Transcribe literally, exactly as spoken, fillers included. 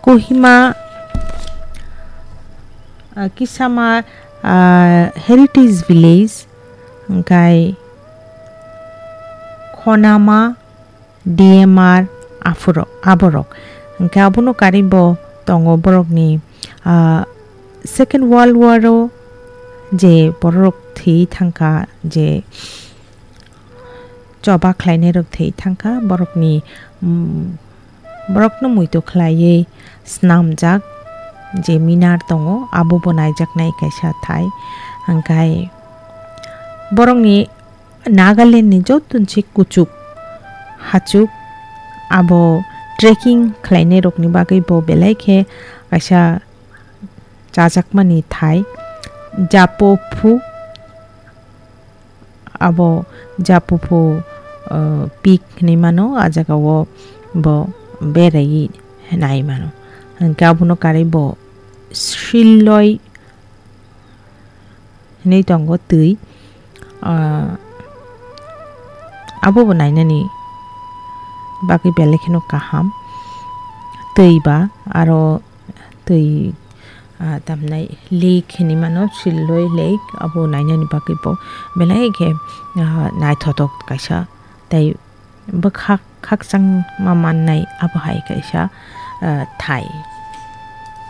Kohima, ah, Kisama, ah, Heritage Village, hwnkhe Khonama, D M R, aphuru-, aborok. Hwnkhe abono karwi bo tongo borokni, ah, Second World War o je borok thwi thangkha, je choba khlainairok thwi thangkha, borokni, mm, borokno muitu khlaiwi snamjak je minar tongo, abo bo naijaknai kaisa thai. Hwnkhe borokni Nagaland ni joto se kuchuk hachuk abo trekking khlainairokni bagwi bo belai khe kaisa chajakmani thai. Japophu, abo Japophu, uh, peak hinwi mano, a jagao bo beraiwi nai mano. Hwnkhe abono karwi bo Shilloi hinwi tongo twi. Ah, abo bo nainani bagwi belai kheno kaham. Twi ba aro twi, ah, tamnai lake hinwi mano, Shilloi Lake, abo nainani bagwi bo belai khe, ah, naithotok kaisa. Tei bwkhak khakchangma mannai abo hai kaisa, ah, thai.